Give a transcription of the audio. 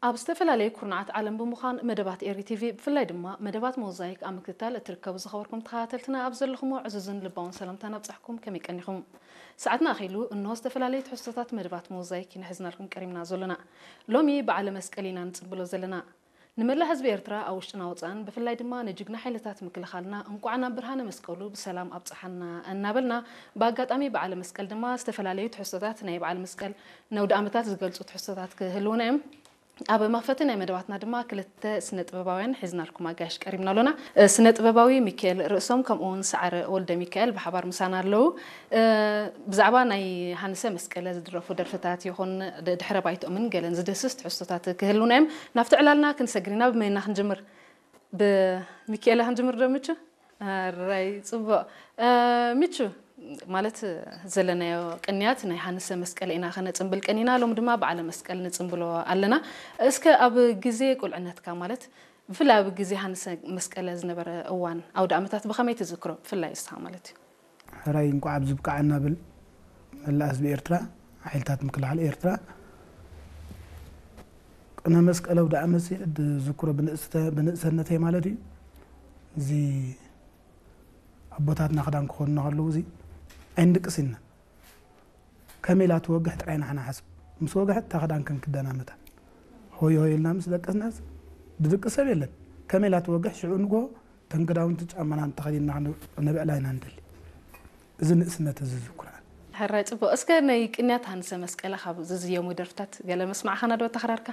ኣብ ዝተፈላለየ ኩርናዓት ዓለም ብምዃን መደባት ኤሪ ቲቪ ብፍላይ ድማ መደባት ሞዛይክ ኣብ ምክትታል እትርከቡ ዝኸበርኩም ተኸታተልትና ኣብ ዘለኹሞ ዕዙዝን ልባውን ሰላምታ ናብጻሕኩም ከመይ ቀኒኹም? ሰዓትና ኣኺሉ እንሆ ዝተፈላለዩ ትሕዝቶታት መደባት ሞዛይክ ኢና ሒዝናልኩም ቀሪምና ዘሎና። ሎሚ በዓለ መስቀል ኢና ንጽንብሎ ዘለና። ንመላእ ህዝቢ ኤርትራ ኣብ ውሽጥና ወጻእን ብፍላይ ድማ ንጅግና ሓይልታት ምክልኻልና እንቋዕ ናብ ብርሃነ መስቀሉ ብሰላም ኣብጽሓና እናበልና ብኣጋጣሚ በዓለ መስቀል ድማ ዝተፈላለዩ ትሕዝቶታት ናይ በዓለ መስቀል ነውዲ ዓመታት ዝገልጹ ትሕዝቶታት ክህልውና እዮም። ኣብ መኽፈቲ ናይ መደባትና ድማ ክልተ ስነ ጥበባውያን ሒዝናልኩም ኣጋይሽ ቀሪብና ኣሎና። ስነ ጥበባዊ ሚካኤል ርእሶም ከምኡ እውን ሰዓረ ወልደ ሚካኤል ብሓባር ምሳና ኣለዉ። ብዛዕባ ናይ ሃንሰ መስቀለ ዝድረፉ ደርፍታት ይኹን ድሕረ ባይትኦምን ገለን ዝድህስስ ትሕዝቶታት ክህልውና እዮም። ናብቲ ዕላልና ክንሰግር ኢና። ብመይና ክንጅምር? ብሚካኤል ክንጅምር ዶ ምቹ? ኣራይ ጽቡቕ። ሚቹ፣ ማለት ዘለናዮ ቅንያት ናይ ሃንሰ መስቀል ኢና ከነጽንብል ቀኒና። ሎም ድማ በዓለ መስቀል ንጽንብሎ ኣለና። እስከ ኣብ ግዜ ቁልዕነትካ፣ ማለት ብፍላይ ኣብ ግዜ ሃንሰ መስቀለ ዝነበረ እዋን ኣውደ ኣመታት ብኸመይ ትዝክሮ? ብፍላይ እስኻ ማለት እዩ። ሕራይ እንኳዕ ኣብዚ ብቃዓና ብል መላእ ህዝቢ ኤርትራ፣ ሓይልታት ምክልኻል ኤርትራ። ቅነ መስቀል ኣውደ ኣመት ዝዝክሮ ብንእስተ-፣ ብንእሰነተይ ማለት እዩ። እዚ ኣቦታትና ክዳን ክኾኑና ከለዉ እዚ ኣይንድቅስ ኢና። ከመይ ኢላ ትወግሕ ጥራይ ኢና ንሓስብ። ምስ ወግሐት እታ ክዳን ከም ክደናመታ ሆይ ሆይ ኢልና ምስ ደቀስናስ ድድቅስ ሰብ የለን። ከመይ ኢላ ትወግሕ ሽዑ ንግሆ ተን ክዳውንቲ ጫማና እንተኸዲንና ንብዕላ ኢና ንደሊ። እዚ ንእስነት እዚ ዝዝክሮ። ሕራይ ጽቡቕ። እስከ ናይ ቅንያት ሃንሰ መስቀለ ካብ ዝዝየሙ ደርፍታት ገለ መስማዕኻና ዶ ተኸራርካ?